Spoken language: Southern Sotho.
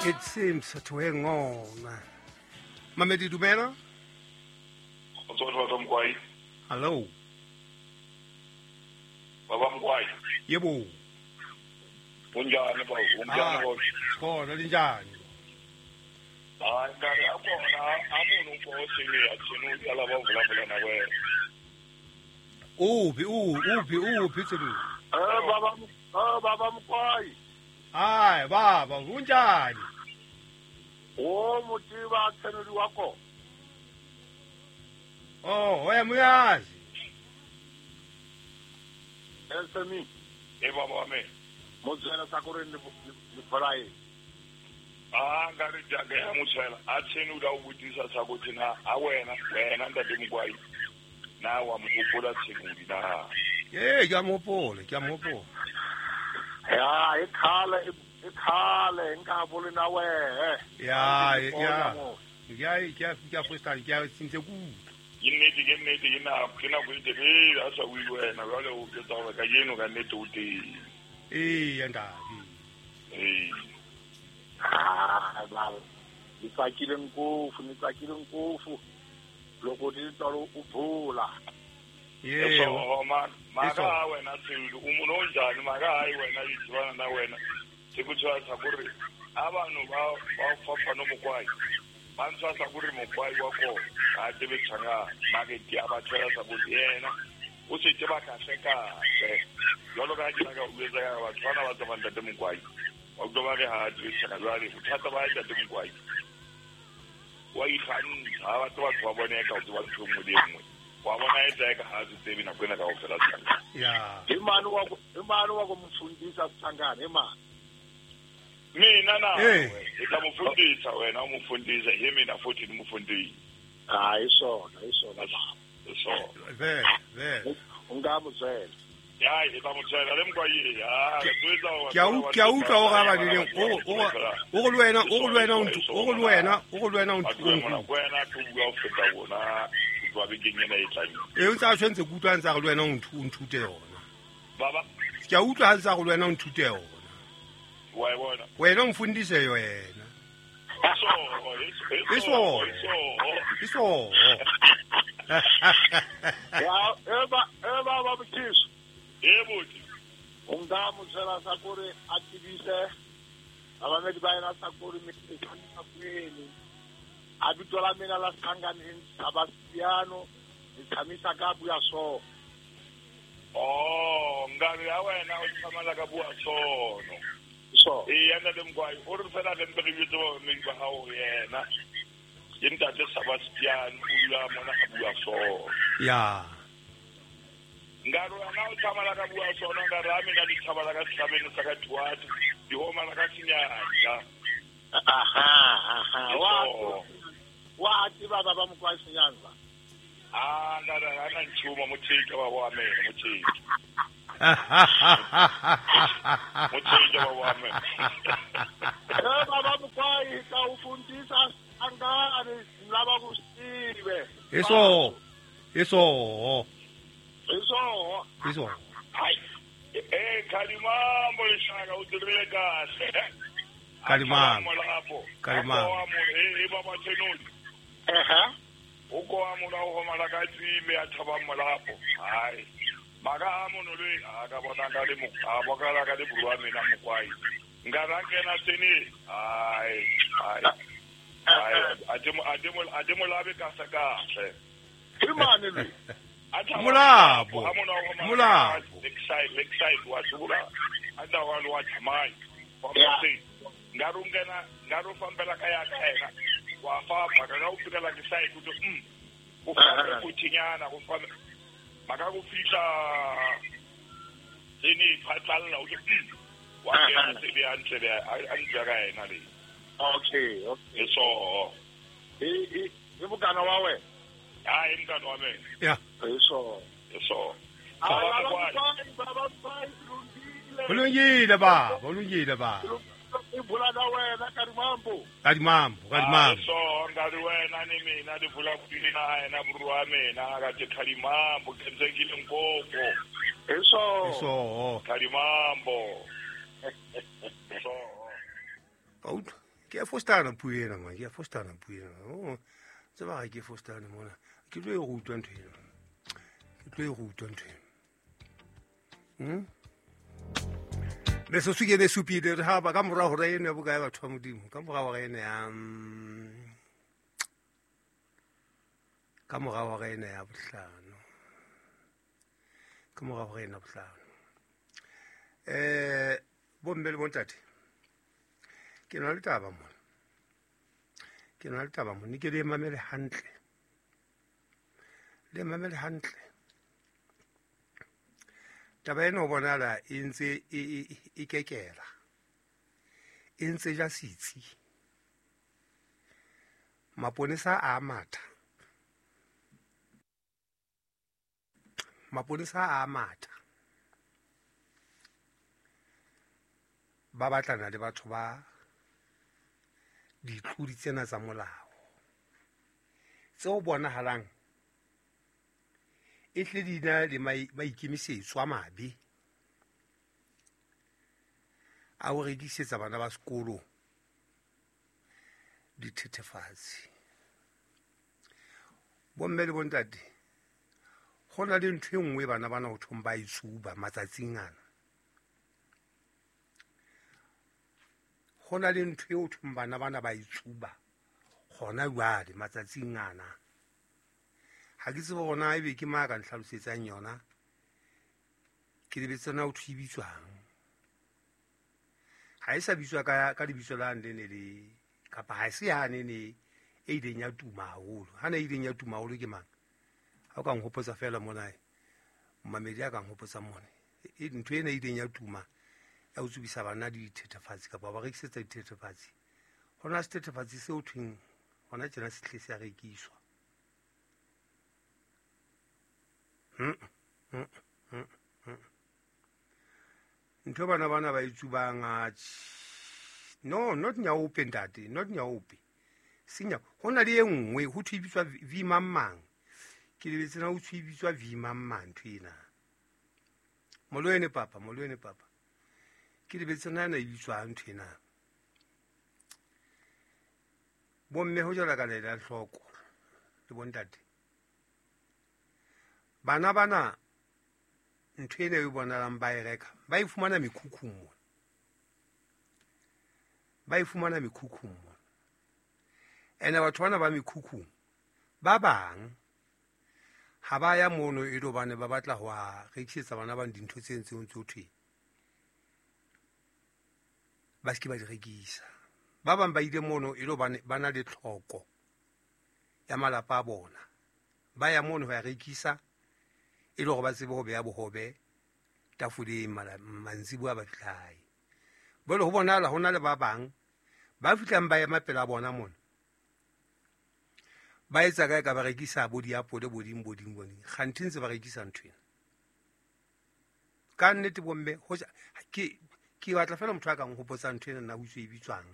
It seems to hang on. Mamedi dumela? Hello. Baba Mkwai. Yebo. Unjani baba? Unjani baba? Khona linjani? Hayi ngare akona amuntu uphosile athina uyala bavula na wena. Uphi uphi tselu? Baba Mkwai. Hayi baba unjani? O motiva tsenuli wako. Oh, oya muyazi. Elsemi. E baba wami. Motswela sa gore le folae. Ah, ngare jaga ya motswela a tshenula o botisa sa go tsena a wena wena ntate Mkwai. Na wa mo hopola tshenuli na. Ee, ke a mo hopola. Ya, e khale nka bole na we. Ya. Ke a freestyle ke a sintse ku. Ke nnete ke na go itebele a sa bue wena jwale o ke tsa gore ka jeno ka nnete o teng. Ee, ntate. Ee. Ah, baba. Ni tsakile ngopfu. Loko di tlo o bula. Yebo, maka wena tselu o mono njani maka hayi wena itswana na wena. Sekutshwa sa gore abantu ba fapana Mokwai. Ba ntshwa sa gore Mokwai wa ko a tebe tshanga market ya ba tshela sa bo yena. O se teba ka hle. Jalo ka ke ka o etsa ka batho bana ba tswa ntate Mokwai. Wa utlwa ba re ha tebe tshanga jwale bothata ba ntate Mokwai. Wa ikgantsha ha batho ba bone ka o tswa ntho nngwe le nngwe. Wa bona e tla ka ha se tsebe nako ena kaofela tshanga. Ya. Imani wa go mfundisa tshangana imani. Mina na e tla mofundisa wena o mofundisa he mina futhi ni mofundisa. Ah, isona baba. Isona. Ve. Ungamutswela. Ya, e tla motswela le Mkwai ya, ke a utlwa o ga ba dileng o go le wena o go wena ke bua o feta bona ba bekeng ena e tlang. E o ntse a tshwantse ke utlwa ntse a go le wena o nthute yona. Baba ke a utlwa ha ntse a go le wena o nthute yona. Wa e bona. Wena o mfundise yona. Iso. Ya, e baba Mkhize. Yebo. Ungamutswela sa gore a tsebise abamedi ba yena sa gore me kwele. A bitso la mina la Sangane Sebastiano ni tshamisa ka bua so. Oh, ngare ya wena o tshamala ka bua sono. So. E ya ntate Mkwai o re fela re mpe re bitse ba mmedi ba hao yena. Ke ntate Sebastiano o dula mona ga bua sono. Ya. Ngare wena o tshamala ka bua sono ngare a mina di tshamala ka setlhabelo sa ka thuate di homa la ka senyanja. Aha. Wa tseba baba Mkwai Senyanza. Ah, ngare ana nchuma mothike baba wa mina mothike. Mothike baba wa mina. Baba Mkwai ka ufundisa angane laba kusibe. Iso. Hai. Kalimambo lishaka o dirile kahle. Kalimambo. E baba tsenoli. Aha. O ko amona o homa ka tsime a thaba molapo. Hai. Maka amono le a ka bona ka le mo a bokala ka le burwa mina Mokwai. Ngara kena tsene. Hai. Ademo labe ka saka. Imani le. Molapo. Lakeside wa tsula. Anda wa lo wa thamai. Ya. Ngaro ngena ngaro fambela ka ya ka ena. Wa fa ka o fika la ke side go o fa go thinyana go fa maka go fihla tsene phatlalla o ke wa kena tsebe hantle be a ntse ka ena le. Okay. Eso. E bokana wa wena. Ah, e mkana wa me. Ya. Eso. Baba Ulungile baba, ulungile baba. Ibula na wena Karimambo. Karimambo. So ngari wena ni mina di bula kuina yena burwa mina ka te Karimambo kenzekile ngopho. Eso. Karimambo. So. Out. Ke a fostana puo ena man, ke a fostana puo ena. Oh, tseba ga ke fostane mona. Ke tlo e rutwa ntho ena. Ke tlo e rutwa ntho ena. Metsotso ke ene e supile re haba ka mora hora eno ya bokae batho ba Modimo, ka mora hora eno ya ka mora hora eno ya bohlano. Ka mora hora eno ya bohlano. Bomme le bontate, ke na le taba mona. Ke na le taba mona, ke le mamele hantle. Le mamele hantle. Taba ena ho bonahala e ntse e kekela. E ntse ja setsi. Maponesa a matha. Maponesa a matha. Ba batlana le batho ba ditlodi tsena tsa molao. Tseo bonahalang e hle di na le maikemisetso a mabe a ho rekisetsa bana ba sekolo dithethefatsi. Bomme le bontate, ho na le ntho e nngwe bana bana ho thong ba e tsuba matsatsing ana. Ho na le ntho eo thong bana bana ba e tsuba hona jwale matsatsing ana. Ha ke tsebe hore na ebe ke mang a ka ntlhalosetsang yona. Ke lebetse na ho thwe e bitswang. Ha e sa bitswa ka lebitso la ne ne le kapa ha se yane ne e ileng ya tuma haholo. Ha ne e ileng ya tuma haholo ke mang? Ha o ka nhopotsa feela mona, momamedi a ka nhopotsa mona. Ntho ena e ileng ya tuma ya ho tsubisa bana dithethefatsi kapa ba rekisetsa dithethefatsi. Hona sethethefatsi seo thweng hona tjena se hle se a rekiswa. Ntho bana bana ba e tsubang, no, not nyaope ntate, not nyaope. Senya, ho na le e nngwe ho thwe e bitswa V mang mang. Ke lebetse na ho thwe e bitswa V mang mang ntho ena. Molwene papa, molwene papa. Ke lebetse na ena e bitswang ntho ena. Bomme ho jala ka lela hloko le bontate. Bana bana ntho ena e bonalang ba e reka, ba e fumana mekhukhung mona. Ba e fumana mekhukhung mona. Ene batho bana ba mekhukhung ba bang ha ba ya mono e le hobane ba batla ho a rekisetsa bana ba dintho tse ntseng tse thwe ba se ke ba di rekisa. Ba bang ba ile mono e le hobane ba na le tlhoko ya malapa a bona. Ba ya mono ho ya rekisa e le hore ba tsebe ho beha bohobe tafoleng mantsiboya ba fihla hae. Jwale ho bonahala ho na le ba bang ba fihlang ba ema pela bona mona. Ba etsa kae ka ba rekisa bo diapole bo ding bo ding bo ding. Kganthe ntse ba rekisa ntho ena. Ka nnete bomme, hoja ke batla feela motho a ka nhopotsa ntho ena na ho tswe e bitswang.